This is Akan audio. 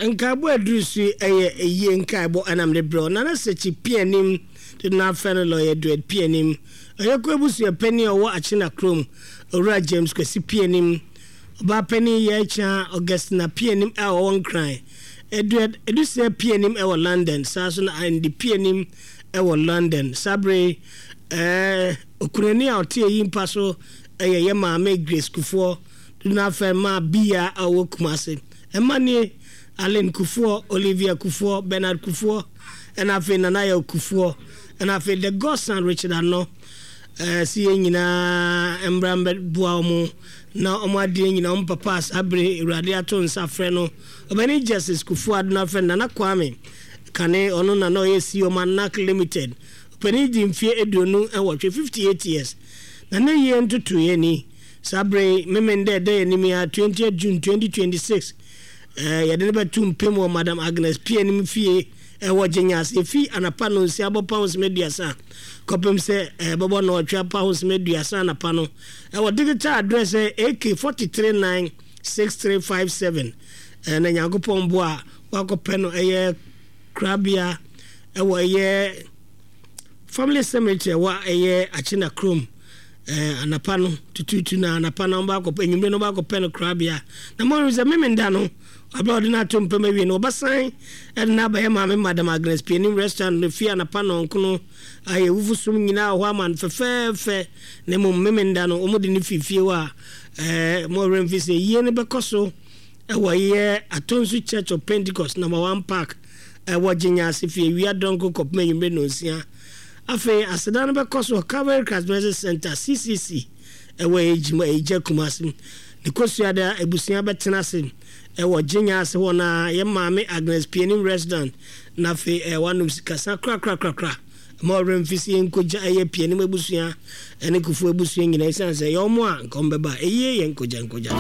Nkaebɔ aduru so yi yɛ ayie nkaebɔ ɛna mede brɛ wo. Nana Sekyi Pianim de no afrɛ no Lawyer Duet Pianim. Ɔyɛkuo abusua panin a ɔwɔ Akyena kurom, Owura James Kwasi Pianim. Ɔbaa panin Yɛɛkyaa Augustina Pianim a ɔwɔ Nkran. Eduard Edusia Pianim wɔ London, saa nso na Andy Pianim wɔ London. Saa bere yi, ɛɛ, okunani a ɔte eyi mpa so yɛ yɛn maame Grace Kufuor, dodoɔ no ara frɛ no Maa Biya a ɔwɔ Kumasi. Mma nie, Aline Kufuor, Olivia Kufuor, Bernard Kufuor, ɛna afei Nana Yaw Kufuor, ɛna afei The Godson Richard Anɔ. Ɛɛ, sɛ yɛn nyinaa mmra mmɛboa wɔn na wɔn adeɛ nyinaa, wɔn papa a saa bere yi Awurade ato nsa afrɛ no, Ɔbɛne Justice Kufuor Addo no afrɛ no Nana Kwame Kane, ɔno na na ɔyɛ CEO ma NAC Limited. Ɔpanin di mfeɛ 28, 58 years, na ne yie ntotoeɛ ni. Saa bere yi, Memenda a ɛda yɛn anim yi ara, 20th June 2026, eh, yɛde no bɛto mpem wɔ Madam Agnes Pianim fie ɛwɔ Gyenya ase. Efi anapa nonsia bɔ pahosem 30 kɔpem sɛ ɛbɛbɔ nnɔwɔtwe apahosem 30 anapa no. Ɛwɔ digital address ɛ AK 43 96357. Eh, na Nyankopɔn boa a, wakɔpɛ no ɛyɛ korabea ɛwɔ ɛyɛ Family Cemetery ɛwɔ ɛyɛ Akyena kurom. Eh, anapa no tutuutu na anapa na wɔba akɔpɛ, anwummere no wɔba akɔpɛ no korabea. Na moahu sɛ Memenda no, bere a wɔde no ato mpam awie no, wɔbɛsan de no abɛyɛ Maame Madam Agnes Pianim Restaurant no fie anapa nnɔnkono. Ayɛ awufo som nyinaa wɔ hɔ ama no fɛfɛɛfɛ. Na mmom Memenda no, wɔde no fi fie hɔ a, eh, mo werɛ mfi sɛ yie no bɛkɔ so wɔ yɛ Atonsu Church of Pentecost, Number One Park, ɛwɔ Gyenya ase fi awia dɔnko kɔpem anwummere nnɔnsia. Afei aseda no bɛkɔ so wɔ Calvary Christ Mercy Center, CCC, ɛwɔ Ejima, Eja, Kumasi. Ne Kosuada abusua bɛtena ase ɛwɔ Gyenya ase hɔ na yɛ maame Agnes Pianim Restaurant na afei wanom sikasa korakorakorakora. Mma wo werɛ mfi sɛ yɛnkogya ɛyɛ Pianim abusua ɛne Kufuor abusua nyinaa esiane sɛ ɛyɛ wɔn a nka wɔn bɛba. Eyie yɛ nkogya nkogya.